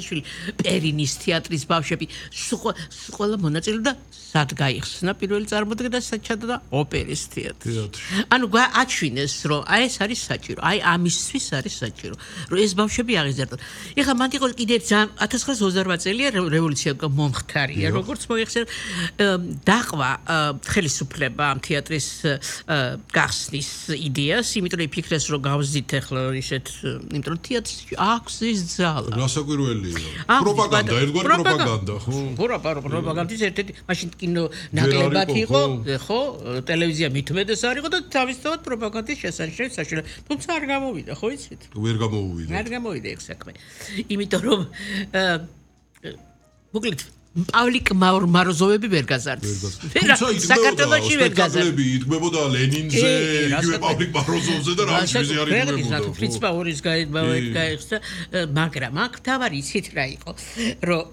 შვილი პერინის თეატრის ბავშვები ყველა მონაწილეობდა სად გაიხსნა პირველი წარმოდგენა და სად ჩადდა ოპერის თეატრში. ანუ აჩვინეს რომ აი ეს არის საჭირო, აი ამისთვის არის საჭირო, რომ ეს ბავშვები აღიზარდონ. ეხლა მანდ იყო კიდე 1928 წელია რევოლუცია მომხდარია, როგორც მოიხსენე დაყვა ხელისუფლება ამ თეატრის გახსნის იდეას, იმიტომ რომ იფიქრეს რომ გავზით ახლა ისეთ, იმიტომ რომ თეატრში აქვს ის ძალა. გასაკვირველია. პროპაგანდა, ერთგვარი პროპაგანდა, ხო? პროპაგანდის ერთ-ერთი მაშინ კინო ნაკლებად იყო, ხო? ტელევიზია მithumedes არ იყო და თავისთავად პროპაგანდის შესანიშნავი საშუალება. თუმცა არ გამოვიდა, ხო იცით? ვერ გამოვიდა. არ გამოვიდა ეს საქმე. იმიტომ რომ მოკლედ პავლიკ მაროზოვები ვერ გაზარდს. საქართველოში ვერ გაზარდს. იდგმებოდა ლენინზე, იგივე პავლიკ მაროზოვზე და რა ვიცი არ იდგმებოდა. ფრიც პაურის გაიხსნა, მაგრამ აქ თავარი იცით რა იყო, რომ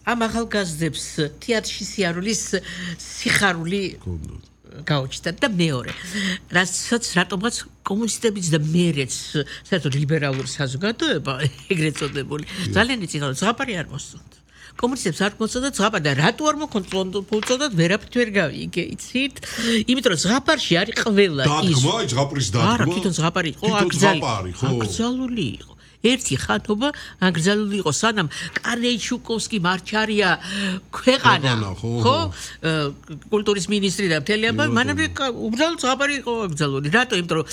ამ ახალგაზრდებს თეატრში სიარულის სიხარული გაუჩნდათ და მეორე რასაც რატომღაც კომუნისტებიც და მერეც საერთოდ ლიბერალური საზოგადოება ეგრეთ წოდებული ძალიან იცით ზღაპარი არ მოსწონთ კომუნისტებს არ მოსწონდათ ზღაპარი და რატო არ მოხონწონდათ ვერაფრით ვერ გავიგე იცით იმიტომ რომ ზღაპარში არის ყველა ის დადგმა ზღაპრის დადგმა არა თვითონ ზღაპარი იყო აკრძალული იყო ერთი ხათობა ანგრძალული იყო სანამ კარნეიჩუკოვსკი მარჩარია ქვეყანა ხო კულტურის მინისტრი და მთელი ამბავი მანამდე უბრალოდ ზღაპარი იყო ანგრძალული რატო იმიტომ რომ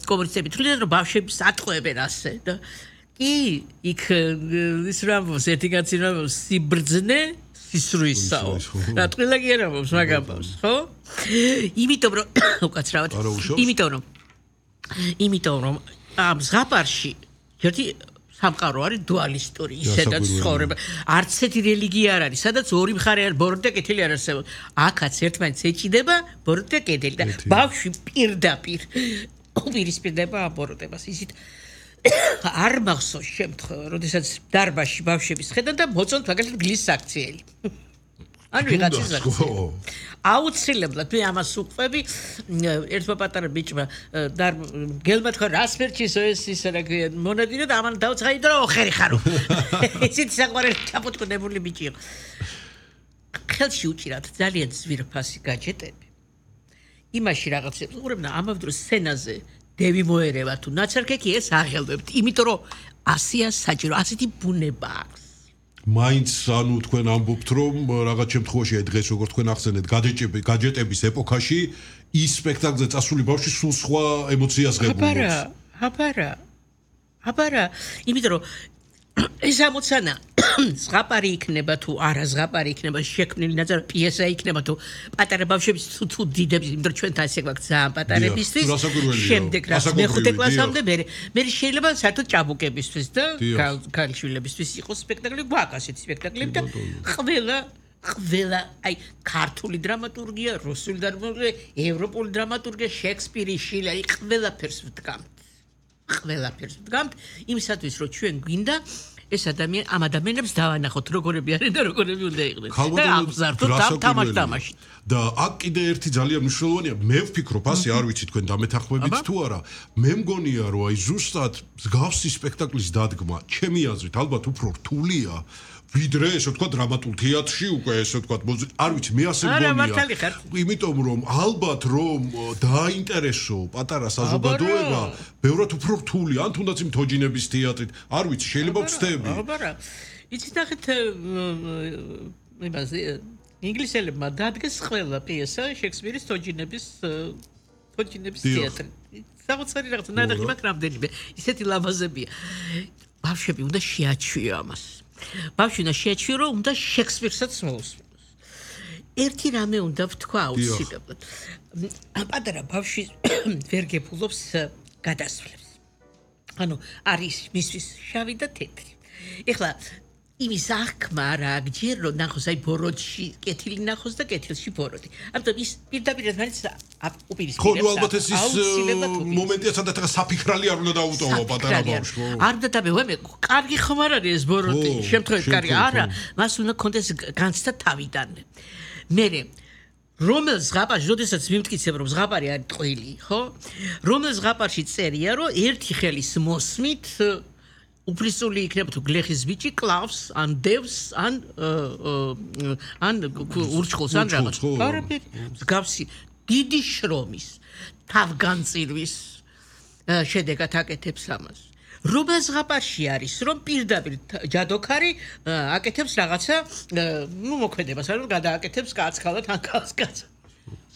კომუნისტები თვლიან რომ ბავშვებს ატყვევენ ასე და კი იქ ის რამბოს ერთი კაცი რამბოს სიბრძნე სისრუისაო რა ტყილა კი არ ამბობს მაგამბავს ხო იმიტომ რომ უკაცრავად იმიტომ რომ ამ ზღაპარში ერთი სამყარო არის დუალისტური ისედაც ცხოვრება არც ერთი რელიგია არ არის სადაც ორი მხარე არ ბოროტი და კეთილი არ არსებობს აქაც ერთმანეთს ეჭიდება ბოროტი და კეთილი და ბავშვი პირდაპირ უპირისპირდება ამ ბოროტებას ისიც არ მახსოვს შემთხვევა როდესაც დარბაზში ბავშვების ხედან და მოწონთ მაგალითად გლის საქციელი ანუ ვიღაცის აუცილებლად მე ამას უყვები ერთმა პატარა ბიჭმა გელმა თქვა რას მერჩისო ეს ისა რა ქვია მონადინო და ამან დავცხაი და ოხერი ხარო ისიც საყვარელი ჩაპუტკუნებული ბიჭი იყო ხელში უჭირათ ძალიან ძვირფასი გაჯეტები იმაში რაღაცებს უყურებდა ამავდროულად დროს სცენაზე დევი მოერევა თუ ნაცარქექი ეს აღელვებთ იმიტომ რომ ასია საჭირო ასეთი ბუნება აქვს მაინც ანუ თქვენ ამბობთ რომ რაღაც შემთხვევაში აი დღეს როგორც თქვენ ახსენეთ გაჯეტების ეპოქაში ის სპექტაკლზე წასული ბავშვი სულ სხვა ემოციას ღებულობს აბარა იმიტომ რომ ეს ამოცანა ზღაპარი იქნება თუ არა ზღაპარი იქნება შექმნილი ნაწარმი პიესა იქნება თუ პატარა ბავშვების თუ დიდების იმიტომ რომ ჩვენთან ესე გვაქვს ძალიან პატარებისთვის შემდეგ რა მეხუთე კლასამდე მე შეიძლება საერთოდ ჭაბუკებისთვის და ქალიშვილებისთვის იყოს სპექტაკლი გვაქვს ასეთი სპექტაკლები და ყველა აი ქართული დრამატურგია რუსული დრამატურგია ევროპული დრამატურგია შექსპირი შილერი ყველაფერს ვდგამთ იმისათვის რომ ჩვენ გვინდა ეს ამ ადამიანებს დავანახოთ როგორები არიან და როგორები უნდა იყვნენ და აღზარდოთ თამაში და აქ კიდე ერთი ძალიან მნიშვნელოვანია მე ვფიქრობ ასე არ ვიცი თქვენ დამეთანხმებით თუ არა მე მგონია რომ აი ზუსტად მსგავსი სპექტაკლის დადგმა ჩემი აზრით ალბათ უფრო რთულია ვიდრე ესე ვთქვა დრამატულ თეატრში უკვე ესე ვთქვა არ ვიცი მე ასე მგონია იმიტომ რომ ალბათ რომ დააინტერესო პატარა საზოგადოება ბევრად უფრო რთულია ან თუნდაც იმ თოჯინების თეატრით არ ვიცი შეიძლება ვცდები აბარა იცით ნახეთ იმაზე ინგლისელებმა დადგეს ყველა პიესა შექსპირის თოჯინების თეატრი საოცარი რაღაცა ნადაღი მაქვს რამდენიმე ისეთი ლამაზებია ბავშვები უნდა შეაჩვიო ამას ბავშვი უნდა შეაჩვიო რომ უნდა შექსპირსაც მოусმინოს ერთი რამე უნდა ვთქვა აუცილებლად პატარა ბავშვი ვერ გეფულობს გადასვლებს ანუ არის მისთვის შავი და თეთრი ეხლა იმის აღქმა რა გჯერ რომ ნახოს აი ბოროტში კეთილი ნახოს და კეთილში ბოროტი ამიტომ ის პირდაპირ ერთმანეთს უპირისპირებს ხო ნუ ალბათ ეს მომენტია სადაც რა საფიქრალი არ უნდა დაუტოვო პატარა ბავშვს არ უნდა დავე კარგი ხმარ არის ეს ბოროტი შემთხვევით კარგი არა მას უნდა კონდეს განცდა თავიდან მე რომელ ზღაპარში როდესაც მიმტკიცებ რომ ზღაპარი არის ტყვილი ხო რომელ ზღაპარში წერია რომ ერთი ხელის მოსმით უფლისწული იქნება თუ გლეხის ბიჭი კლავს ან დევს ან ურჩხულს ან რაღაც. არაფერი. მსგავსი დიდი შრომის თავგანწირვის შედეგად აკეთებს ამას. რობა ზღაპარში არის რომ პირდაპირ ჯადოქარი აკეთებს რაღაცა მოქმედებას რომ გადააკეთებს კაცქალად ან კაცკაც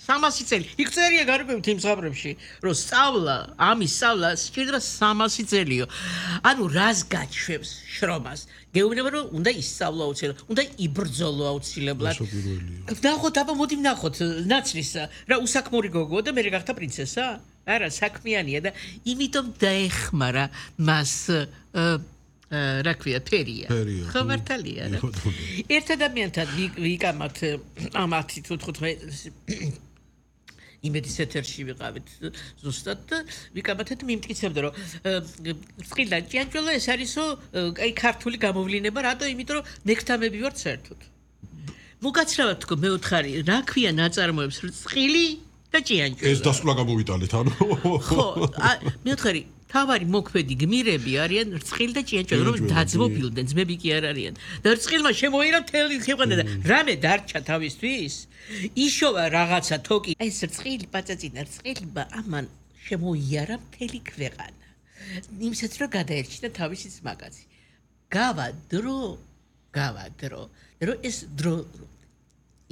300 წელი იქ წერია გარკვევით იმ ზღაპრებში რომ სწავლა ამის სწავლა სჭირდა 300 წელიო ანუ რას გაჩვევს შრომას გეუბნება რომ უნდა ისწავლა აუცილებლად უნდა იბრძოლო აუცილებლად ვნახოთ აბა მოდი ვნახოთ ნაცრისა რა უსაქმური გოგოა და მე გახდა პრინცესა არა საქმიანია და იმიტომ დაეხმარა მას რა ქვია ფერია ხო მართალია რა ერთ ადამიანთან ვიკამათ ამათი თუ 15 იმედის ეთერში ვიყავით ზუსტად და ვიკამათეთ მიმტკიცებდა რომ წყილდან ჭიანჭველა ეს არისო აი ქართული გამოვლინება რატო იმიტომ რომ ნექტამები ვართ საერთოდ მოგაცრავად თქო მეოთხარი რა ქვია ნაწარმოებს წყილი და ჭიანჭველა ეს დასკვნა გამოვიტანეთ ანუ ხო მეოთხარი თავარი მოქმედი გმირები არიან რწყილი და ჭიანჭველა რომ დაძმობილდნენ ძმები კი არ არიან და რწყილმა შემოიერა მთელი ქვეყანა და რამე დარჩა თავისთვის იშოვა რაღაცა თოკი ეს რწყილი პაწაწინა რწყილმა ამან შემოიარა მთელი ქვეყანა იმისაც რომ გადაერჩინა თავისიც მაგაზი გავა დრო რომ ეს დრო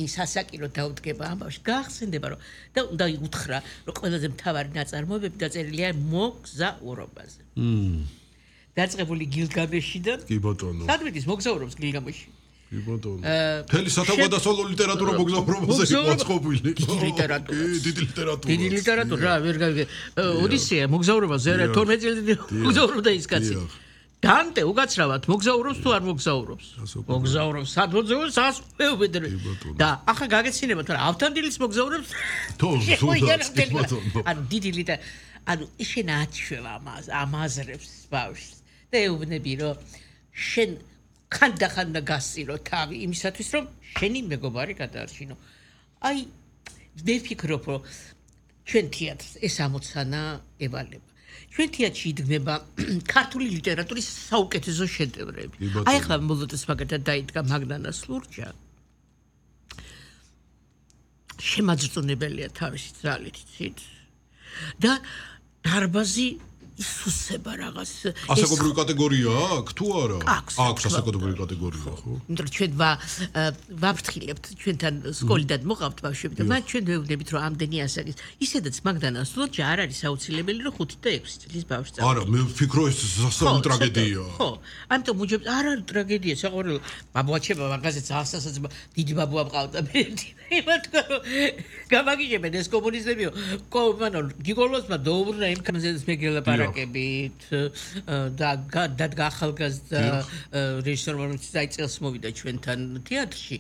ის ასაკირო დაუდგება ამბავში გაახსენდება რომ და უნდა უთხრა რომ ყველაზე მთავარი ნაწარმოებები დაწერილია მოგზაურობაზე. დაწყებული გილგამეშიდან კი ბატონო. სადმედის მოგზაურობს გილგამეში. კი ბატონო. მთელი სათავგადასავლო ლიტერატურა მოგზაურობაზე მოწყობილი. დიდი ლიტერატურა. რა ვერ გავიგე. ოდისეა მოგზაურობაზე არა 12 წელი მოგზაურობდა ის კაცი. დანტე უკაცრავად მოგზაურობს თუ არ მოგზაურობს მოგზაურობს სად მოგზაურობს ასწევდები და ახლა გაგეცინებათ რა ავთანდილის მოგზაურობს ანუ დიდი ლიტა ანუ შენ აჩვევა ამაზრებს ბავშვს და ეუბნები რომ შენ ხანდახანდა გასწირო თავი იმისათვის რომ შენი მეგობარი გადაარჩინო აი მე ვფიქრობ რომ ჩვენ თეატრს ეს ამოცანა ევალება ჩვენ თეატრში იდგმება ქართული ლიტერატურის საუკეთესო შედევრები. აი ახლა მოლოდეს მაგათად დაიდგა მაგდანას ლურჯა. შემაძრწუნებელია თავისი ძალით, იცით? და დარბაზი ისუსება რაღაც ასაკობრივი კატეგორია აქვს თუ არა? აქვს ასაკობრივი კატეგორია, ხო? იმიტომ რომ ჩვენ ვაფრთხილებთ ჩვენთან სკოლიდან მოყავთ ბავშვები და მათ ჩვენ ვეუბნებით რომ ამდენი ასაკის ისედაც მაგდანას ლურჯა არ არის აუცილებელი რომ 5 და 6 წლის ბავშვს წავ. არა, მე ვფიქრობ ეს სასწაული ტრაგედია. ხო, ამიტომ უჯებს არ არის ტრაგედია, საყოველთაოდ ბაბუაჩება მაგაზეც ასასაც დიდი ბაბუა მყავდა მე იმათქო გამაგიჟებენ ეს კომუნისტებიო მანო გიგოლოსმა დაუბრუნა იმ კანზეც მეგელაპარაკებით და გახალგაზრდა რეჟისორმა რომელიც წელს მოვიდა ჩვენთან თეატრში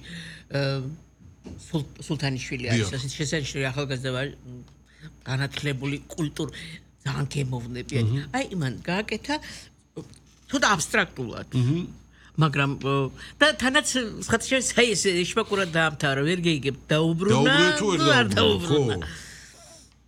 სულთანიშვილი არის ასეთ შესანიშნავი ახალგაზრდა განათლებული კულტურა ძალიან გემოვნებიანი აი მან გააკეთა თუდა აბსტრაქტულად მაგრამ და თანაც სხვათა შორის აი ეს შპაკურად დაამთავრა ვერ გეიგებ დაუბრუნა თუ არ დაუბრუნა